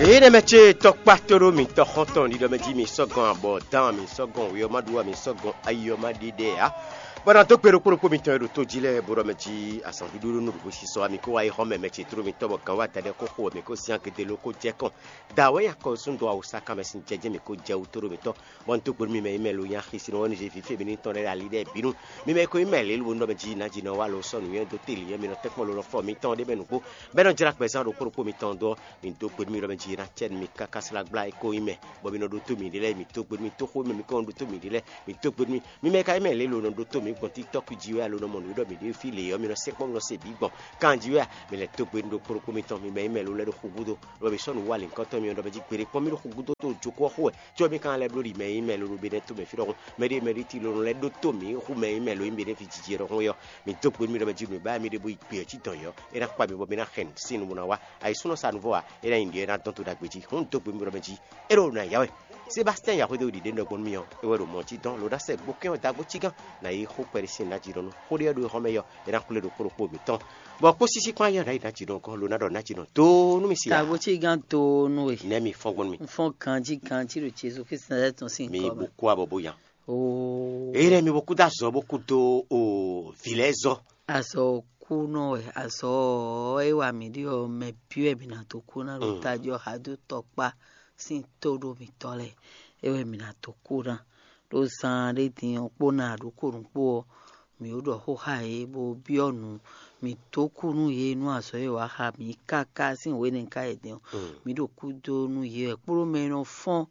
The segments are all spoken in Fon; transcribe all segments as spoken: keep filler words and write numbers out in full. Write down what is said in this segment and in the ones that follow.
Eye nɛ mɛ ce tɔkpá tóɖó mǐtɔn xɔ́ntɔn ɖiɖɔ mɛ jí mi sɔ́ gɔn abɔ dán mi sɔ́ gɔn wě ɔ́ má ɖu ɔ́ mi sɔ́ gɔn ayi ɔ́ má ɖi ɖɛ ǎ. Bɔ ná dó gbe ɖokpó ɖokpó mitɔn e ɖo tó jí lɛ́ɛ bo ɖɔ mɛ jí azɔ̌ ɖuɖu ɖó nǔɖuɖu sísɔ wá mi kó wá yi xɔ mɛ mɛ ce tóɖó mitɔn bɔ gǎn wá tɛɖɛ xó xo wɛ mi kó syán gede ló kó jɛ kɔn. Da wɛ nya kɔ sún dó awusa kan mɛ sín jɛjɛ mi kó jɛ wú tóɖó mitɔn. Bɔ un dó gbe nú mi mɛ yi mɛ lo nyi axi sin ɔ́ ní zé fífí mi ní tɔn ɖɛ ali ɖɛ bínú. Mi mɛ ko yi mɛ lě lo nɔ mɛ jí ná jí nɔ wá lo sɔ́ nǔnywɛ́ dó télì ɔ́ mi nɔ tɛ́nkpɔ́n lo nɔ fɔ mitɔn ɖé mɛ nǔgbó. Bɛ́ nɔ jlá gbɛzán ɖokpó ɖokpó mitɔn dó ɔ́, mi dó gbe nú mi ɖɔ mɛ jí ná cɛ nú mi káká slá gbla e ko yi mɛ, bɔ mi nɔ ɖótó miɖée lɛ́ɛ mi dó gbe nú mi tóxó mɛ mi kɔ nɔ ɖótó miɖée lɛ́ɛ mi dó gbe nú mi. Mi mɛ ka yi mɛ lě lo nɔ ɖótó mi gbɔn TikTok jí wɛ alo nɔ mɔ nǔ ɖɔ mi ɖě fí lě ɔ́ mi nɔ sɛkpɔ́ mi nɔ se bǐ gbɔn kan jí wɛ a? Mi lɛ́ dó gbe nú ɖokpó ɖokpó mitɔn mi mɛ yi mɛ lo lɛ́ ɖo xu gúdo, bɔ mi sɔ́ nǔ wa lǐnkɔtɔn mi ɔ́ ɖɔ mɛ jí gbeɖé kpɔ́n mi ɖo xu gúdo tó jókòó xó wɛ. Có mi ka lɛ́ bló ɖi mɛ yi mɛ lo ɖo Benɛ́ tomɛ fí ɖɔhun, mɛɖé mɛɖé ti lo nɔ lɛ́ ɖótó mǐ xú mɛ yi mɛ lo nyí Benɛ́ ví jiji ɖɔhun é ɔ́, mi dó gbe nú mi ɖɔ mɛ jí nǔ e ba mi ɖe bó yi gbe ɔ́ jí dɔn yɔ̌, é ná kpa mi bɔ mi ná xɛn sín nǔ bó ná wá. Ayǐsúnɔ sa nǔvɔ ǎ, é ná nyi nǔɖé é ná dɔn to ɖagbe jí. Hǔn dó gbe nú mi ɖɔ mɛ jí é ɖo nǔ ná ya wɛ. Sébastɛ́n Yahweh ɖo ɖiɖe nɔ gbɔn nú mi ɔ́, é wɛ ɖo mɔ̌ jí dɔn lo ná sɛ gbokɛ́n ɔ́ dagbo cí gán, ná yí xó kpɛɖé sín nǎ jí ɖɔhun. Xó ɖé ɔ́ ɖo é xɔ́ mɛ yɔ́, é ná xwlé ɖokpó ɖokpó mǐtɔn. Bɔ kpó sísí kpán yɔ́ ná yi ná jí ɖɔhun gɔ́n lo ná ɖɔ ná jí ɖɔhun dó nú mi si ǎ. Tagbo cí gán dó nú we. Nɛ́ mi fɔ́n gbɔn nú mi. Un fɔ́n ganjí ganjí ɖo Jezu Kristi ná tɔn sín mi kɔ bó mɛ. Kú abɔ bó yan. Oo. Eye lɛ́ɛ mi bó kú dó azɔ̌ bó kú dó o vǐ lɛ́ɛ zɔ. Azɔ̌ kú nɔ wɛ azɔ̌ ɔ́ é wa mǐ ɖi ɔ́ mɛ byɔ́ wɛ mǐ ná dó kú ná ɖo Mm. Tají ɔ́ xa dó tɔkpá sín tó ɖo mǐtɔn lɛ́ɛ é wɛ mǐ ná dó kú ná. Ɖó zan ɖé din ɔ́ kpó ná ɖokó nǔkpó ɔ́, mǐ ó ɖɔ xó xá yě bó byɔ́ nǔ. Mǐ dó kú nú yě nú azɔ̌ e wǎ xa mǐ káká sín hwenɛ́ ká yě din ɔ́, Mm. mǐ ɖo kú dó nú yě wɛ kpódó mɛ e nɔ fɔ́n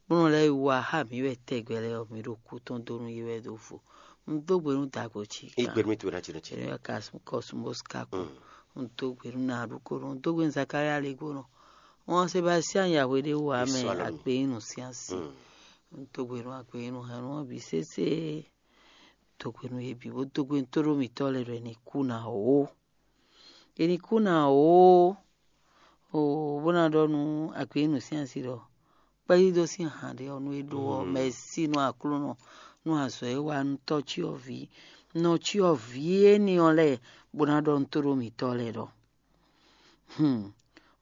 bó nɔ lɛ́ wá xá mǐ wɛ tɛgbɛ lɛ́ɛ ɔ́, mǐ ɖo kú tɔn dó nú yě wɛ ɖo vo. Un dó gbe nú dagbo cí Igbe mi tu na tino tino. Ká kɔsúnbóská kú. Un dó gbe nú Naɖúkónɔ, un dó gbe nú Zakalía Legbónɔ. Wọn Sebastian Yahweh ɖé wú amɛ Biswalɔmi. Agbeyínu sín asi. Un dó gbe nú agbeyínu hɛn nú wọn bǐ sésé. Dó gbe nú yě bǐ bó dó gbe nú tóɖó mǐtɔn lɛ́ɛ ɖɔ è ní kú ná ó. È ní kú ná ó. Oo, bó ná ɖɔ nú agbeyínu sín asi ɖɔ kpɛ́yídó sín han ɖé ɔ́ nú é ɖó ɔ́, mɛ e sí nú Aklúnɔ nú azɔ̌ e wa nú tɔ́cyɔvǐ nɔcyɔvǐ énɛ́ ɔ́ lɛ́ɛ bó ná ɖɔ nú tóɖó mǐtɔn lɛ́ɛ ɖɔ: Hlún,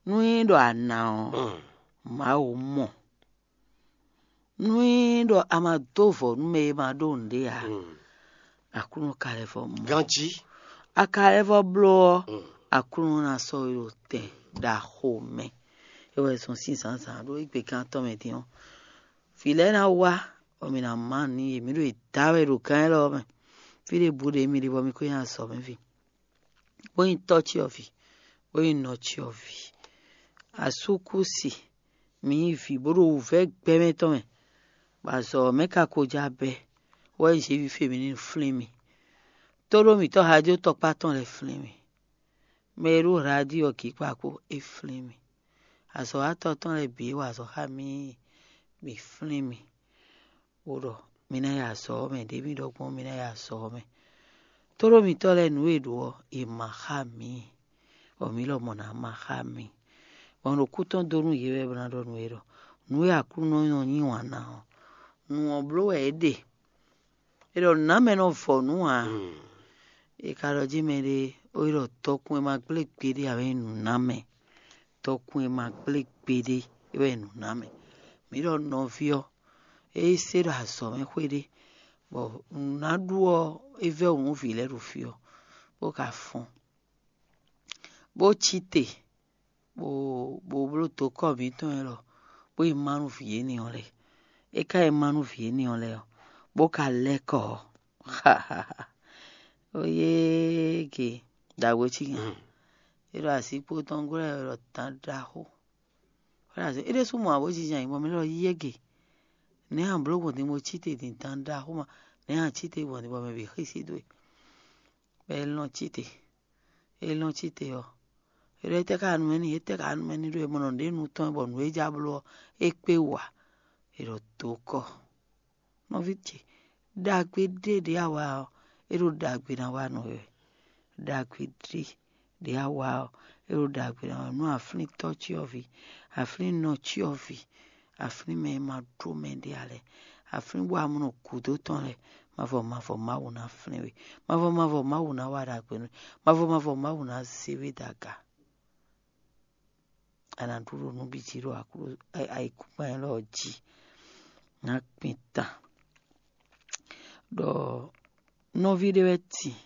nú é ɖɔ a ná ɔ́, Mawu mɔ. Nú é ɖɔ a ma dó vɔ̌ nú mɛ e ma ɖó nǔɖé ǎ, Aklúnɔ ka lɛ́ vɔ mɔ. Ganjí. A ka lɛ́ vɔ bló ɔ́, Aklúnɔ ná sɔ́ we ɖo tɛn ɖaxo mɛ. É wɛ zɔn sín zǎnzǎn ɖó égbé gán tɔn mɛ din ɔ́, vǐ lɛ́ɛ ná wá, bɔ mǐ ná má nǔ n'i yě. Mǐ ɖo yě da wɛ ɖo gán élɔ́ ɔ́ mɛ. Fí ɖěbǔ ɖě mi ɖe bɔ mi ko nyi azɔ̌mɛví, bó nyí tɔ́ cyɔ́vǐ, bó nyí nɔ cyɔ́vǐ. Asúkúsi, mǐ nyí vǐ bó ɖo wǔvɛ́ gbɛmɛ tɔn mɛ, bɔ azɔ̌ ɔ́ mɛ ka ko já bɛ́, wɛ nyí Zěvi fí e mǐ ní flín mi. Tóɖó mǐtɔn Hajó tɔkpá tɔn lɛ́ɛ flín mi. Mɛ e ɖó Hlaɖíɔ gǐkpa kpó é flín mi. Azɔ̌watɔ́ tɔn lɛ́ɛ bǐ e wa azɔ̌ xá mì é, mǐ flín mi, bó ɖɔ mi ná yi azɔ̌ ɔ́ mɛ, ɖě mǐ ɖɔ gbɔn mi ná yi azɔ̌ ɔ́ mɛ. Tóɖó mǐtɔn lɛ́ɛ nǔ e è ɖǒ ɔ́, è ma xá mǐ, bɔ mǐ lɔmɔ̌ ná ma xá mi. Bɔ un ɖo kú tɔn dó nú yě wɛ bó ná ɖɔ nú yě ɖɔ nǔ e Aklúnɔ nɔ yí wǎn ná ɔ́, nǔ ɔ́ bló wɛ é ɖe. È ɖɔ nǔnámɛ nɔ vɔ nǔ ǎ. È ka ɖɔ jí mɛɖé ó yi ɖɔ tɔkun e ma gblé gbeɖé ǎ wɛ nyí nǔnámɛ. Tɔkun e ma gblé gbeɖé é wɛ nyí nǔnámɛ. Mǐ ɖɔ nɔví ɔ́, é yi se ɖo azɔ̌ mɛ xwé ɖé, bɔ nǔ ná ɖu ɔ́, é vɛ́ wǔ nú vǐ lɛ́ɛ ɖo fí ɔ́, bó ka fɔ́n, bó cí te, bó bó bló dokɔ́ mǐtɔn élɔ́, bó yi má nú vǐ énɛ́ ɔ́ lɛ́ɛ. É ka yi má nú vǐ énɛ́ ɔ́ lɛ́ɛ ɔ́, bó ka lɛ́ kɔ ɔ́, ó yéé ge ɖagbo cí nya. É ɖo asíkpo tɔn glɔ́ ɛ ɖɔ tán ɖaxó. É ɖo así é ɖésú mɔ ǎ bó jínjɔ́n ayǐ bɔ mɛ lɛ́ɛ ɖɔ yɛ́gě. Nɛ̌ a blǒ gbɔn din bó cí te din tán ɖaxó ma? Nɛ̌ a cí te gbɔn din bɔ mɛ bǐ xísí dó e? Bɔ é lɔn cí te. É lɔn cí te ɔ́, é ɖɔ étɛ́ ka nú mɛ n'i? Étɛ́ ka nú mɛ n'i ɖó e mɔ nɔ ɖě nu tɔn bɔ nǔ e ja bló ɔ́, é kpé wú ǎ. È ɖɔ dǒ kɔ. Nɔví ce, ɖagbe ɖé ɖě a wa ɔ́, é ɖo ɖagbe ná wa nú we wɛ. Ɖagbe ɖé ɖě a wa ɔ́, é ɖo ɖagbe ná wa nú aflín tɔ́ cyɔ́vǐ, aflín nɔ cyɔ́vǐ, aflín mɛ e ma ɖó mɛ ɖé ǎ lɛ́ɛ, aflín bɔ a mɔ nɔ gǔdo tɔn lɛ́ɛ. Mavɔ mavɔ Mawu ná flín we. Mavɔ mavɔ Mawu ná wa ɖagbe nú we. Mavɔ mavɔ Mawu ná zé we dó aga. a nǎ ɖu ɖo nǔ bǐ jí ɖo ayǐkúngban élɔ́ jí. Ná kpin tan ɖɔ nɔví ɖé wɛ tin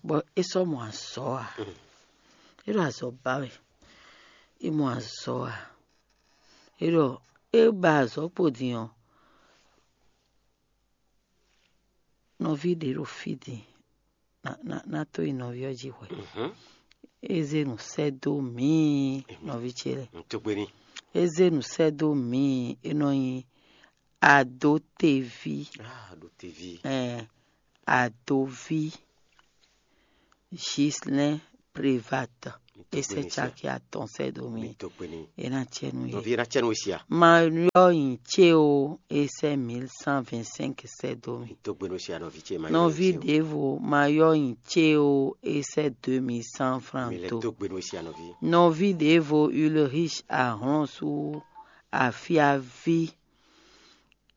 bɔ é sɔ́ mɔ azɔ̌ ǎ. É ɖo azɔ̌ ba wɛ. É mɔ azɔ̌ ǎ. É ɖɔ é ba azɔ̌ kpo din ɔ́, nɔví ɖě ɖo fí din ná tó yi nɔví ɔ́ jí hwɛ̌. É zé nǔ sɛ́ dó mǐ, nɔví ce lɛ́ɛ. É zé nǔ sɛ́ dó mǐ, é nɔ nyí Adoteví. Adoví. Ɛɛ, Adoví. Ghislain Prévat. É sɛ́ caki atɔn sɛ́ dó mì. É ná cɛ nú yě. Nɔví ná cɛ nú we sia. Ma yɔ nyi ce o, é sɛ́ mille cent vingt-cinq sɛ́ dó mì. Tó gbe nú sia nɔví ce ma. Nɔví ɖěvo ma yɔ nyi ce o, é sɛ́ deux mille cent francs dó. Tó gbe nú sia nɔví. Nɔví ɖěvo Ulrich Ahlɔn sú afiaví.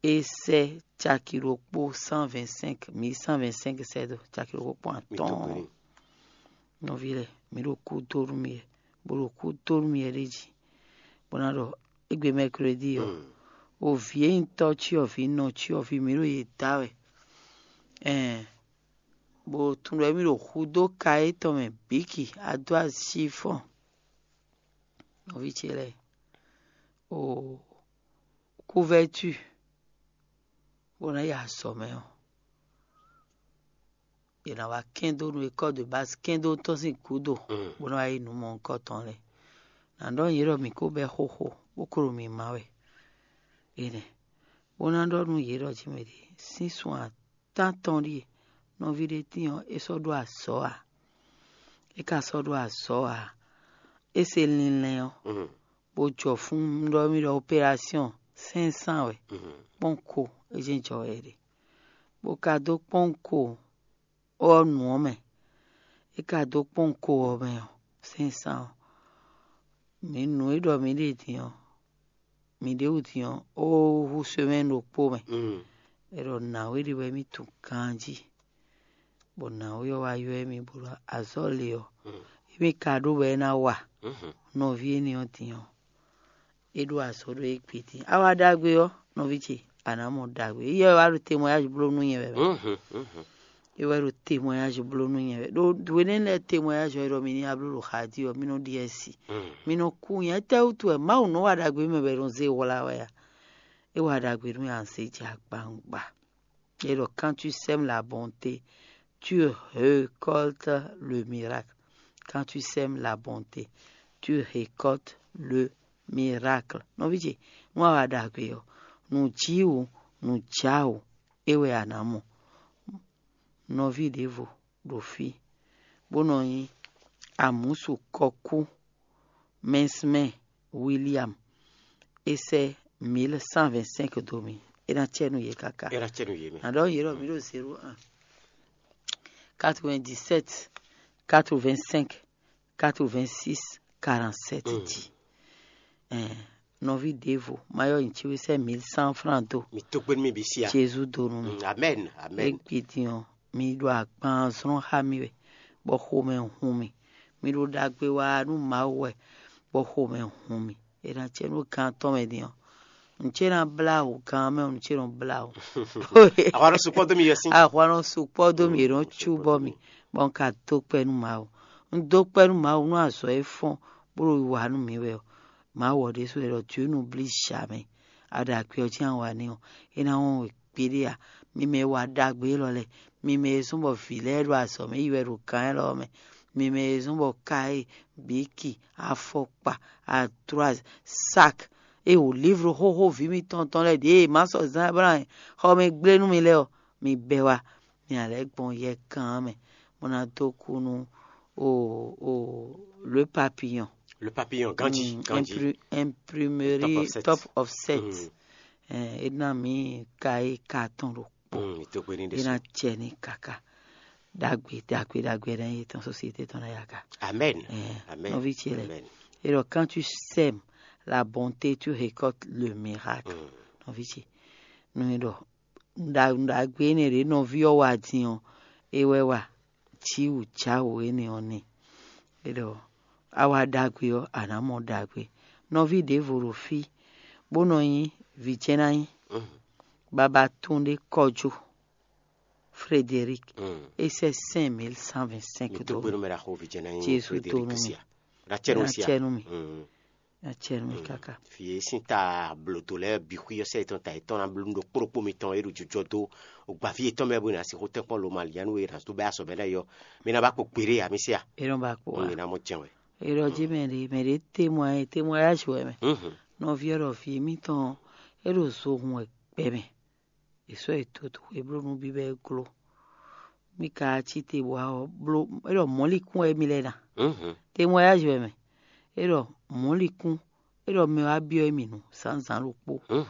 É sɛ́ caki ɖokpó cent vingt-cinq, mille cent vingt-cinq sɛ́ dó caki ɖokpó kpɔ́n atɔ́ɔ́n. Nɔví lɛ́ɛ, mǐ ɖo kú dó nú mì wɛ, bó ɖo kú dó nú mì wɛ ɖ'é jí, bó ná ɖɔ égbé mɛklódi ɔ́, o vǐ e nyí tɔ́ cyɔ vǐ nɔ cyɔ vǐ mǐ ɖo yě da wɛ. Ɛɛn, bó tunwun ɖɔ émí ɖo hudó ka étɔn mɛ bǐki adó así fɔ́n. Nɔví ce lɛ́ɛ, o kúvɛ́tú bó ná yi azɔ̌ mɛ ɔ́, è nǎ wá kɛn dó nú école de base kɛn dó tɔ́n sín gǔdo, bó ná wá yi nǔ mɔ̌hunkɔtɔn lɛ́ɛ. Nǎ ɖɔ yě ɖɔ mǐ ko bɛ́ xóxó bó ko ɖo mǐ má wɛ. Énɛ́ bó ná ɖɔ nú yě ɖɔ jí mɛ ɖě sín sun atán tɔn ɖíe nɔví ɖé tín ɔ́, é sɔ́ ɖó azɔ̌ ǎ. É ka sɔ́ ɖó azɔ̌ ǎ. É se linlɛn ɔ́, bó jɔ fún ɖɔ mì ɖɔ opération cinq cent wɛ, kpɔ́nko é jɛ́n jɔ wɛ é ɖe, bó ka dó kpɔ́nko ɔ́ nǔ ɔ́ mɛ. É ka dó kpɔ́nko ɔ́ mɛ ɔ́, cinq cent ɔ́, mǐ nǔ e ɖɔ mǐ ɖe din ɔ́, mǐ ɖě wǔ din ɔ́, ó hú semɛ́ni ɖokpó mɛ. É ɖɔ nǎwe ɖé wɛ mì tunwun ganjí, bɔ nǎwe ɔ́ wá ywɛ́ mì bó ɖɔ azɔ̌ le ɔ́, émí ka ɖó wɛ é ná wa nɔví énɛ́ ɔ́ din ɔ́, é ɖó azɔ̌ ɖó é gbe din. A wa ɖagbe ɔ́, nɔví ce, a nǎ mɔ ɖagbe. Éyɛ́ wɛ wá ɖo témoignage bló nú nyɛ wɛ mɛ. É wɛ ɖo témoignage bló nú nyɛ wɛ. Ɖó hwenɛ́nu lɛ́ɛ témoignage ɔ́, é ɖɔ mi ní abló ɖo xa jí ɔ́, mí nɔ ɖi asi. Mí nɔ kú nyɛ. Étɛ́wútu wɛ Mawu nɔ wa ɖagbe mɛ bɔ è nɔ zé wlá wɛ a? É wa ɖagbe nú mì a nɔ zé jɛ agbawungba. É ɖɔ quand tu sèmes la bonté, tu récoltes le miracle. Quand tu sèmes la bonté, tu récoltes le miracle. Nɔví ce, nú a wa ɖagbe ɔ́, nǔ jí wǔ, nǔ já wǔ, é wɛ a nǎ mɔ. Nɔví ɖěvo ɖo fí, bó nɔ nyí amǔsu kɔkú Mɛnsmɛ William, é sɛ́ mille cent vingt-cinq dó mì. É ná cɛ nú yě káká. É ná cɛ nú yě mɛ. Nǎ ɖɔ yě ɖɔ mǐ ɖo zéro un, quatre-vingt-dix-sept, quatre-vingt-cinq, quatre-vingt-six, quarante-sept jí. Ɛɛ, nɔví ɖěvo, ma yɔ nyi ce wɛ sɛ́ mille cent francs dó. Mi tó gbé nú mi bǐ sia. Jezu dó nú mi. Mm, amen, amen. Égbé din ɔ́, mi ɖo agban zlɔ́n xá mi wɛ, bɔ xomɛ hun mi. Mi ɖo ɖagbe wa nú Mawu wɛ, bɔ xomɛ hun mi. È nǎ cɛ nú gan tɔn mɛ din ɔ́, nǔ ce ná blá wǔ gan mɛ, nǔ ce nɔ blá wǔ. Ahwa nɔ sukpɔ́ dó mi yɔ sín. Ahwa nɔ sukpɔ́ dó mi, è nɔ cúbɔ mi, bɔ un ka dó kpɛ́ nú Mawu. Un dó kpɛ́ nú Mawu nú azɔ̌ e fɔ́n bó ɖo wiwa nú mi wɛ ɔ́. Mawu ɔ́ ɖésú wɛ ɖɔ Dieu n'oublie jamais. A ɖo agbɛ ɔ́ jí a wa n'i ɔ́, é ná wɔn we gbeɖé ǎ. Mi mɛ e wa ɖagbe élɔ́ lɛ́ɛ, mi mɛ e zɔ́n bɔ vǐ lɛ́ɛ ɖo azɔ̌ mɛ yi wɛ ɖo gǎn élɔ́ mɛ, mi mɛ e zɔ́n bɔ káyé, bǐki, afɔkpa, adroise, sak, é wǒ livro xóxó vǐ mitɔn tɔn lɛ́ɛ ɖěe má sɔ́ zán Ablaham xɔ mɛ gblé nú mi lɛ́ɛ ɔ́, mi bɛ́ wá, mi ná lɛ́ gbɔn yɛkan ɔ́ mɛ, bó ná dó kú nú o o le papillon. Le papillon, ganji, Mm, ganji. Impri- imprimerie Top Offset. Top Offset. Mm. Eh, é ná mǐ ka é ka tɔn ɖo kpɔ́. Mm, mi tó gbé ní É ná ɖésú. Cɛ ní kaka. Ɖagbe ɖagbe ɖagbe ná yé tɔn société tɔn ná yaka. Amen. Eh, Amen. Nɔví ce lɛ. Amen. Et donc quand tu sèmes la bonté, tu récoltes le miracle. Mm. Nɔví ce. Nú é ɖɔ ɖagbe énɛ́ ɖě nɔví ɔ́ wa din ɔ́, é wɛ wa. Jǐwǔjáwǔ énɛ́ ɔ́ n'i. É ɖɔ a wa ɖagbe ɔ́, a nǎ mɔ ɖagbe. Nɔví ɖěvo ɖo fí bó nɔ nyí vǐjɛ́nányi, baba tún ɖé kɔjú, Frédéric, é sɛ́ cinq mille cent vingt-cinq dó mì. Jésu tó nú mì. Ɖacɛ nú mì. Acɛ nú mì káká. Fie sín ta blǒdó lɛ́ɛ bǐ xwí ɔ́ sɛ yětɔn ta yětɔn ná bló nú ɖokpó ɖokpó mitɔn e ɖo jɔjɔ dó gbǎví yětɔn mɛ bó ná sixú tɛ́nkpɔ́n lomalianu e ná dó bɛ́ azɔ̌ mɛ lɛ́ɛ yɔ. Mi ná ba kpo kpeɖé amisí a? É nɔ ba kpo a? Mi ná mɔ jɛn wɛ. É ɖɔ jí mɛ ɖě mɛ ɖě témoin témoignage wɛ mɛ. Nɔví ɔ́ ɖɔ vǐ émítɔn é ɖo zohun wɛ gbɛ mɛ. È sɔ́ è toto è bló nú bíbɛ́ gló. Mí ka cí te bɔ a ɔ́ bló é ɖɔ mɔ̌likún wɛ émí lɛ́ɛ ná. Témoignage wɛ mɛ. É ɖɔ mɔ̌likún é ɖɔ mɛ wá byɔ́ émí nǔ zǎnzǎn ɖokpó.